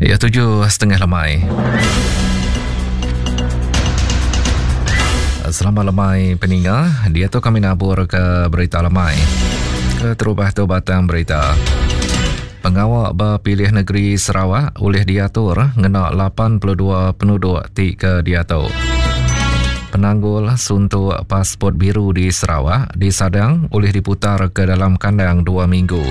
Ya tuju setengah lemai. Selamat lemai peninga. Dia tu kami nabur ke berita lemai. Keterubah tu batang berita. Pengawa bepilih negeri Sarawak ulih diatur ngena 82 penuduk ti ke diatu. Penanggul suntuk pasport biru di Sarawak disadang ulih diputar ke dalam kandang dua minggu.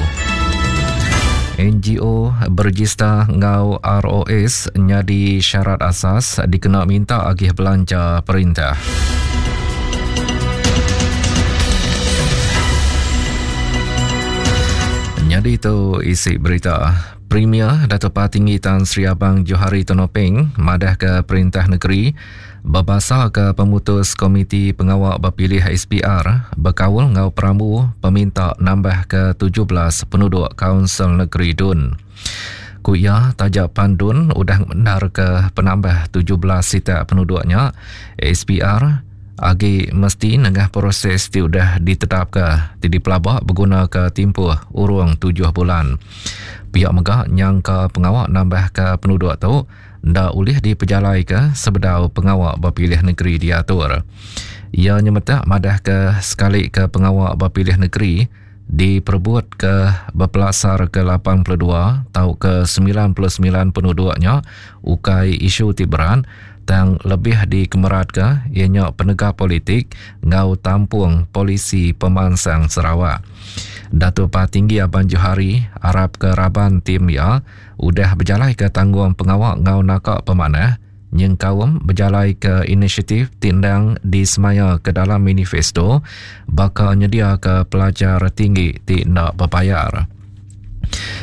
NGO berejista enggau ROS nyadi syarat asas dikena minta agih belanja perintah. Nyadi tu isi berita. Premier Datuk Patinggi Tan Sri Abang Johari Tun Openg madahka perintah negeri Bebasaka pemutus Komiti Pengawa Bepilih SPR bekaul enggau perambu peminta nambahka 17 penuduk Kaunsil Negeri Dun. Ku iya, taja pan Dun udah ngemendarka penambah 17 sitak penuduk nya, SPR agi mesti nengah proses ti udah ditetapka ti dipelaba begunaka timpuh urung tujuh bulan. Pia mega nyangka pengawa nambahka penuduk tu enda ulih dipejalaika sebedau pengawa bepilih negeri diatur. Iya nyemetak madahka sekalika pengawa bepilih negeri diperebutka bepelasarka 82 tauka 99 penuduk nya ukai isu ti berat tang lebih dikemeratka iya nya penegap politik enggau tampung polisi pemansang Sarawak. Datuk Patinggi Abang Johari arapka raban tim iya udah bejalaika tanggung pengawa enggau naka pemanah nyengkaum bejalaika inisiatif ti endang disemaya ke dalam manifesto baka nyediaka pelajar tinggi ti enda bebayar.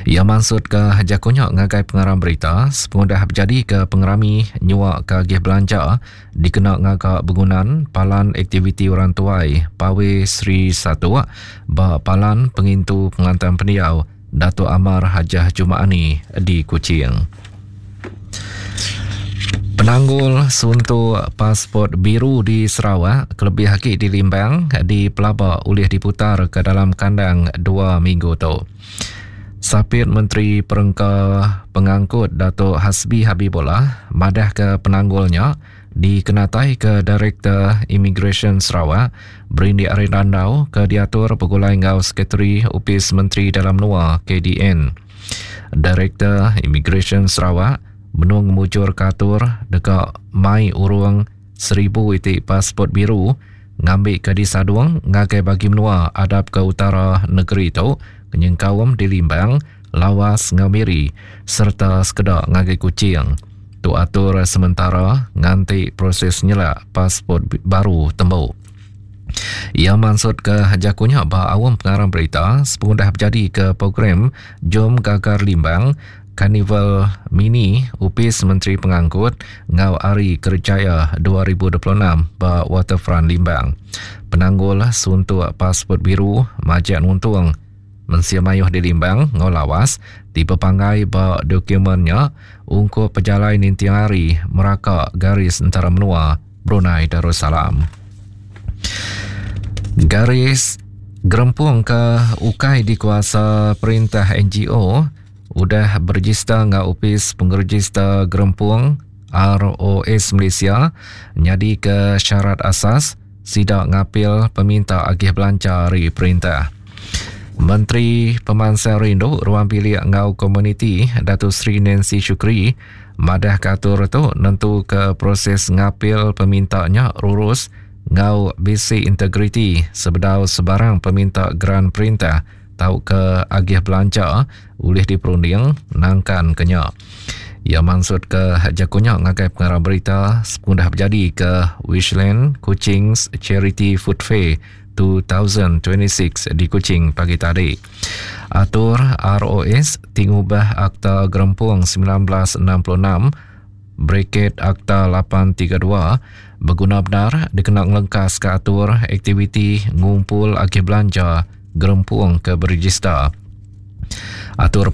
Iya mansutka jaku nya ngagai pengarang berita sepengudah bejadika pengerami nyuaka agih belanja dikena ngaga begunan Palan Aktiviti Orang Tuai Pawe Sri Satok ba Palan Pengintu Pengelantang Pendiau Datuk Amar Hajah Juma'ani di Kuching. Penanggul suntuk pasport biru di Sarawak kelebih agi di Limbang dipelaba ulih diputar ke dalam kandang dua minggu tu. Sapit Menteri Perengka Pengangkut Datuk Hasbi Habibollah madahka penanggul nya Dikenataika Direktor Imigresen Sarawak, berindik ari randau ke diatur begulai enggau Sekretari Opis Menteri Dalam Menua, KDN. Direktor Imigresen Sarawak benung ngemujurka atur deka mai urung seribu iti pasport biru ngambika disadung ngagai bagi menua adap ke utara negeri tu nyengkaum di Limbang, Lawas enggau Miri sereta sekeda ngagai Kuching. Tu atur sementara nganti proses nyelak pasport baru tembu. Iya mansutka jaku nya ba aum pengarang berita sepengudah bejadika program Jom Gagar Limbang Karnival Mini Opis Menteri Pengangkut enggau Hari Kerjaya 2026 ba Waterfront Limbang. Penanggul suntuk pasport biru majak nuntung Mensia mayuh di Limbang enggau Lawas ti bepanggai ba dokumen nya ungkup pejalai ninting hari meraka garis entara menua Brunei Darussalam. Garis gerempung ke ukai dikuasa perintah NGO udah berejista enggau Opis Pengerejista Gerempung ROS Malaysia nyadika syarat asas Sida ngapil peminta agih belanja ari perintah. Menteri Pemansang Rindu, Ruang Bilik enggau Komuniti Dato Sri Nancy Shukri madahka atur tu nentuka proses ngapil peminta nya rurus enggau bisi integriti sebedau sebarang peminta geran perintah tauka agih belanja ulih diperunding nangkan ke nya. Iya mansutka jaku nya ngagai pengarang berita sepengudah bejadi ke Wishland Kuching's Charity Food Fair 2026 di Kuching pagi tadi. Atur ROS ti ngubah Akta Gerempung 1966 Bracket Akta 832 beguna bendar dikena ngelengkaska atur aktiviti ngumpul agih belanja gerempung ke berejista. Atur.